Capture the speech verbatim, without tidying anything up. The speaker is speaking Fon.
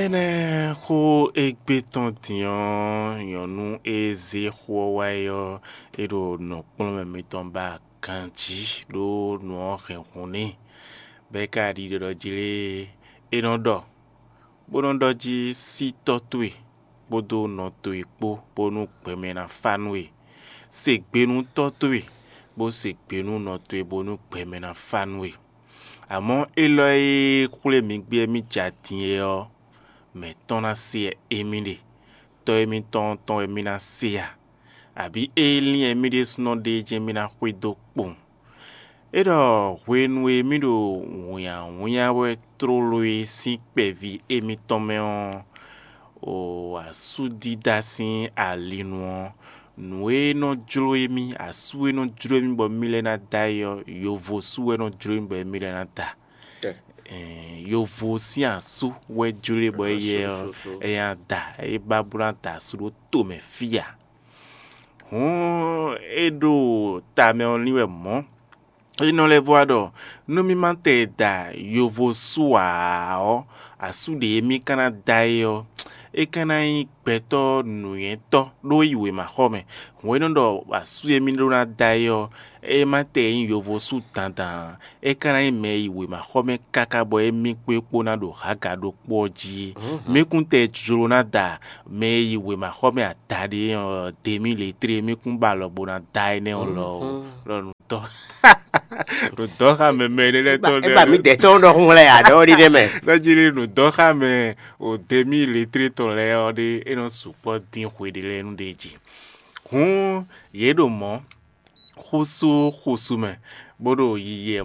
Énɛ́ xó e gbe tɔn din ɔ́, nyɔ̌nu e zé xó ɔ́ wá é ɔ́, é ɖo nɔkplɔ́nmɛ mitɔn ba ganjí ɖó nǔ ɔ́ hɛn hun n'i, bɔ é ka ɖi ɖiɖɔ jí lé, é nɔ ɖɔ, bó nɔ́ ɖɔ jí: Sí tɔ́ towe kpódó nɔ towe kpó, bónú gbɛmɛ ná fá nú we. Se gbe nú tɔ́ towe, bó se gbe nú nɔ towe, bónú gbɛmɛ ná fá nú we. Amɔ̌ élɔ́ e xwlé mi gbé mì ja din é ɔ́, mɛ̌ tɔn ná se wɛ émí ɖe? Tɔ́ émítɔn tɔn wɛ mì ná se a? Abǐ é lín wɛ mì ɖésúnɔ ɖe jɛ́n mì ná xwedó kpowun? É ɖɔ hwenu e mì ɖo wǐnnyáwǐnnyá wɛ tlóló e sín kpɛví émítɔn mɛ ɔ́, o asúdídá sín alinu ɔ́, nǔ e nɔ jló émí, asú e nɔ jló émí bɔ mì lɛ́ ná da é ɔ́, yovo sú wɛ nɔ jló émí bɔ mì lɛ́ ná da. Ɛɛ, yovo sín asú wɛ jló e bɔ éyɛ ɔ́, é ná da, é ba bó ná da asú ɖó to mɛ fí ǎ. Hǔn é ɖo ta mɛ ɔ́ lín wɛ mɔ̌. É nɔ lɛ́ vɔ wá ɖɔ nú mì ma tɛ da yovo sú ǎ ɔ́, asú ɖě mì ka ná da é ɔ́, é ka ná nyí gbɛtɔ́ nǔnywɛ́tɔ́ ɖó yi wěmaxɔ mɛ. Hǔn é nɔ ɖɔ asú e mì ɖó ná da é ɔ́, é ma tɛ nyí yovo sú dandan ǎ. É ka ná nyí mɛ e yi wěmaxɔ mɛ káká bɔ émí kpó é kpó ná ɖo hǎga ɖokpó ɔ́ jí é. Mì kún tɛ jló ná da mɛ e yi wěmaxɔ mɛ adaɖé ɔ́, demi letré, mì kún ba alɔ bó ná da énɛ́ ɔ́ lɔ ó. Lɔ nǔ dɔ́ nǔ dɔ́ xá mɛ mɛ énɛ́ lɛ́ɛ tɔn É ba mì dɛ̌ tɔn ɖɔhun lɛ ǎ ɖɔ ɖi ɖe mɛ. Nɔ jí lé nǔ dɔ́ xá mɛ o demi letré tɔn lɛ́ɛ ɔ́ ɖé, é nɔ sukpɔ́ dín xwe ɖé lɛ́ɛ nú ɖé jí. Hǔn yě ɖo mɔ̌ xúsú xúsú mɛ, bó ɖo yiyi